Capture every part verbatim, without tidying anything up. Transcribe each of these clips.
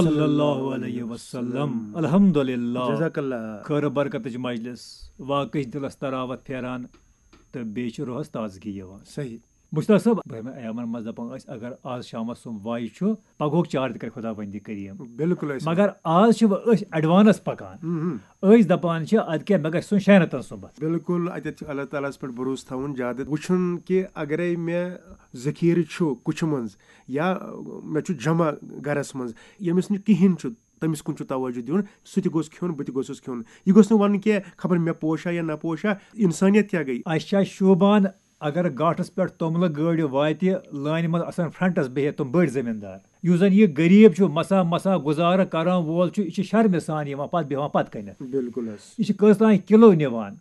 صلی اللہ علیہ وسلم۔ الحمدللہ۔ جزاک اللہ۔ خٲر برکتٕچ مجلس، واقعٕچ دِلس تراوت پھیران تہٕ بیٚیہِ چھِ روحس تازگی یِوان۔ صحیح۔ مشتاق صٲب، برٛونٛہمہِ ایامن منٛز دپان ٲسۍ، اگر آز شامس سُم وایہِ چھُ، پگہُک چار تہِ کرِ خداوندِ کریم۔ بالکل ٲسۍ۔ مگر آز چھِ وۄنۍ أسۍ ایڈوانس پکان۔ ہم، ہم۔ أسۍ دپان چھِ، ادٕ کیٛاہ، مےٚ گژھِ سُم شینتن صُبحس۔ بالکل، اتٮ۪تھ چھُ اللہ تعالیٰ ہس پٮ۪ٹھ بھروسہٕ تھاوُن زیادٕ۔ وٕچھُن کہِ اگرے مےٚ ذخیرٕ چھُ کُچھہِ منٛز یا مےٚ چھُ جمع گرس منٛز، ییٚمِس نہٕ کِہینۍ چھُ، تٔمِس کُن چھُ توجہ دیُن، سُہ تہِ گوٚژھ کھیوٚن، بہٕ تہِ گوٚژھُس کھیوٚن۔ یہِ گوٚژھ نہٕ ونُن کینٛہہ، خبر مےٚ پوشا یا نہ پوشا، انسانیت کیٛاہ گٔے؟ اسہِ چھا شوٗبان اگر گاٹھس پٮ۪ٹھ توٚملہٕ گٲڑۍ واتہِ، لٲنہِ منٛز آسن فرنٹس بِہِتھ تِم بٔڑۍ زٔمیٖندار؟ یُس زن یہِ غریٖب چھُ، مسا مسا گُزارٕ کرن وول چھُ، یہِ چھُ شرمہِ سان یِوان پتہٕ بیٚہوان پتہٕ کنٮ۪تھ۔ بالکل حظ۔ یہِ چھُ کٔژ تام کِلو نِوان،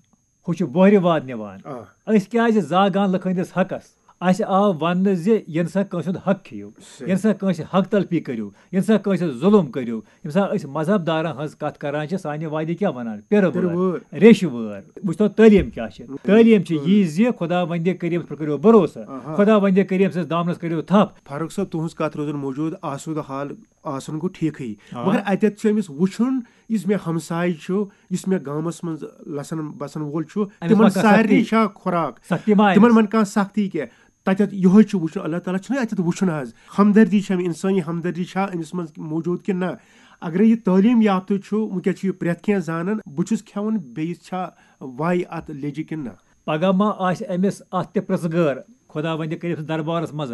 ہُہ چھُ بۄہرِ واد نِوان۔ آ۔ أسۍ کیازِ زاگان لُکھ ہٕنٛدِس حقس؟ اسہِ آو وننہٕ زِ ییٚنہٕ سا کٲنٛسہِ ہُنٛد حق کھیٚیِو، صحیح۔ ییٚنہٕ سا کٲنٛسہِ حق تلفی کٔرِو، ییٚنہٕ سا کٲنٛسہِ ظُلُم کٔرِو، ییٚمہِ ساتہٕ أسۍ مذہب دارن ہٕنٛز کتھ کران چھِ، سانہِ وادِ کیٛاہ ونان؟ پِرٕ پِرٕ وٲر، وٲر۔ ریٚشہِ وٲر۔ وٕچھتو تعلیٖم کیٛاہ چھِ؟ تعلیٖم چھِ یی زِ خداوندِ کریٖمس پٮ۪ٹھ کٔرِو بھروسہٕ، آہا۔ خداوندِ کریم سٕنٛدِس دامنس کٔرِو تھپھ۔ فاروق صٲب، تُہٕنٛز کتھ روزن موجود، آسودٕ حال آسُن گوٚو ٹھیٖکھٕے، آ۔ مگر اتٮ۪تھ چھُ أمِس وٕچھُن، یُس مےٚ ہمساے چھُ، یُس مےٚ گامس منٛز لسن بسن وول چھُ، أمِس تِمن ما کانٛہہ سارنٕے سختی؟ چھا خوراک؟ سختی ما تِمن أمِس؟ من کانٛہہ سختی کینٛہہ؟ تتٮ۪تھ یِہوٚے چھُ وٕچھُن، اللہ تعالیٰ چھُنہ اتٮ۪تھ وٕچھُن حظ، ہمدردی چھےٚ، انسٲنی ہمدردی چھا أمِس منٛز موجود کِنہٕ نہ؟ اگرے یہِ تعلیٖم یافتہٕ چھُ، وٕنکیٚس چھُ یہِ پرٛٮ۪تھ کینٛہہ زانان، بہٕ چھُس کھٮ۪وان، بیٚیِس چھا وَے اتھ لیٚجہِ کِنہٕ نہ؟ پگاہ ما آسہِ أمِس اتھ تہِ پرٛژھ گٲر، خداوندِ کریم سٕنٛدِس دربارس منٛز،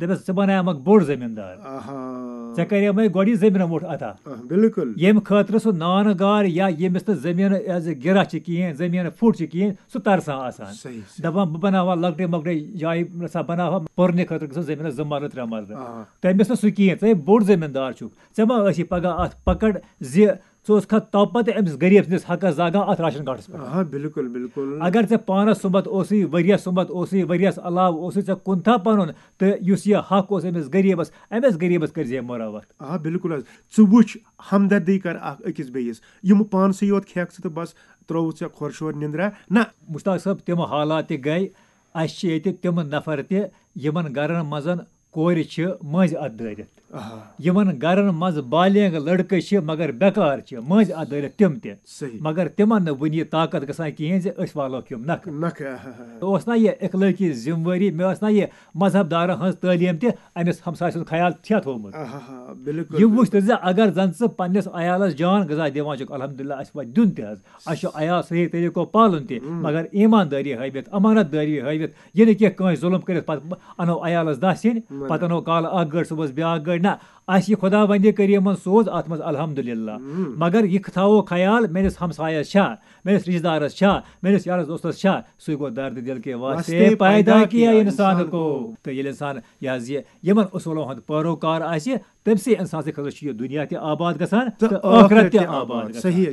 دپٮ۪س، ژٕ بناوکھ بوٚڑ زٔمیٖندار، آہا۔ ژےٚ کریمے گۄڈٕ یہِ زٔمیٖنہ مُٹھ عطا۔ آ، بالکل۔ ییٚمہِ خٲطرٕ سُہ نانہٕ گار یا ییٚمِس نہٕ زٔمیٖنہٕ as a گِرہ چھِ کِہیٖنۍ، زٔمیٖنہٕ پھُٹ چھِ کِہیٖنۍ، سُہ ترسان آسان۔ صحیح، صحیح۔ دپان، بہٕ بناوہا لۄکٹے مۄکٹے جایہِ، رژھا بناوہا پرنہِ خٲطرٕ، گژھِ زٔمیٖنس زٕ مرلہٕ، ترٛےٚ مرلہٕ۔ آ۔ تٔمِس نہٕ سُہ کِہیٖنۍ، ژٕ ہے بوٚڑ زٔمیٖندار چھُکھ، ژےٚ ما ٲسی پگاہ اتھ پکڑ زِ ژٕ اوسکھا توپتہٕ أمِس غریٖب سٕنٛدِس حقس زاگان اتھ راشن کارڈس پٮ۪ٹھ؟ آ، بالکل، بالکل۔ اگر ژےٚ پانس سُمبتھ اوسُے، ؤریس سُمبتھ اوسُے، ؤریس علاوٕ اوسُے، ژےٚ کُنتھا پنُن تہٕ یُس یہِ حق اوس أمِس غریٖبس، أمِس غریٖبس کٔرۍ زِ ہے مُروت۔ آ، بالکل حظ۔ ژٕ وٕچھ، ہمدردی کر اکھ أکِس بیٚیِس۔ یِم پانسٕے یوت کھٮ۪کھ ژٕ تہٕ بس ترٛووُتھ ژےٚ خۄر شور نِندرا۔ نہ۔ مشتاق صٲب، تِم حالات تہِ گٔے۔ اسہِ چھِ ییٚتہِ تِم نفر تہِ، یِمن گرن منٛز کورِ چھِ مٔنٛزۍ اتھ دٲرِتھ۔ آہا۔ یِمن گرن منٛز بالینگ لڑکہٕ چھِ مگر بیکار چھِ، مٔنٛزۍ اتھ دٲرِتھ تِم تہِ۔ صحیح۔ مگر تِمن نہٕ وُنہِ یہِ طاقت گژھان کِہیٖنۍ زِ أسۍ والوکھ یِم نکھٕ۔ نکھٕ، آہا۔ اوس نہ یہِ اخلٲقی ذمہٕ وٲری، مےٚ ٲس نہ یہِ مذہب دارن ہٕنٛز تعلیٖم تہِ أمِس ہمسایہِ سُنٛد خیال چھا تھوٚومُت؟ آہا، بالکل، یہِ وٕچھ بالکل۔ تہٕ زِ اگر زن ژٕ پننِس عیالس جان غذا دِوان چھُکھ، الحمدللہ، اسہِ واتہِ دیُن تہِ حظ۔ اسہِ چھُ عیال صحیح طریٖقو پالُن تہِ، مگر ایٖماندٲری ہٲوِتھ، امانت دٲری ہٲوِتھ، یہِ نہٕ کینٛہہ کٲنٛسہِ ظُلُم کٔرِتھ پتہٕ انو عیالس دَہ سِنۍ، پتہٕ انو کالہٕ اکھ گٲڑۍ، صُبحس بیٛاکھ گٲڑۍ۔ نہ، اسہِ یہِ خداوندِ کریٖمن سوز اتھ منٛز الحمدللہ۔ مگر یہِ تھاوو خیال، میٲنِس ہمسایس چھا، میٲنِس رشتہٕ دارس چھا، میٲنِس یارس دوستس چھا، سُے گوٚو درد دل کے واسطے پیدا کیا انسان کو۔ تہٕ ییٚلہِ انسان یہِ حظ یہِ یِمن اصوٗلو ہُنٛد پٲروکار آسہِ، تٔمۍ سٕے انسان سٕنٛدِ خٲطرٕ چھُ یہِ دُنیا تہِ آباد گژھان تہٕ ٲخرت تہِ آباد گژھان۔ صحیح۔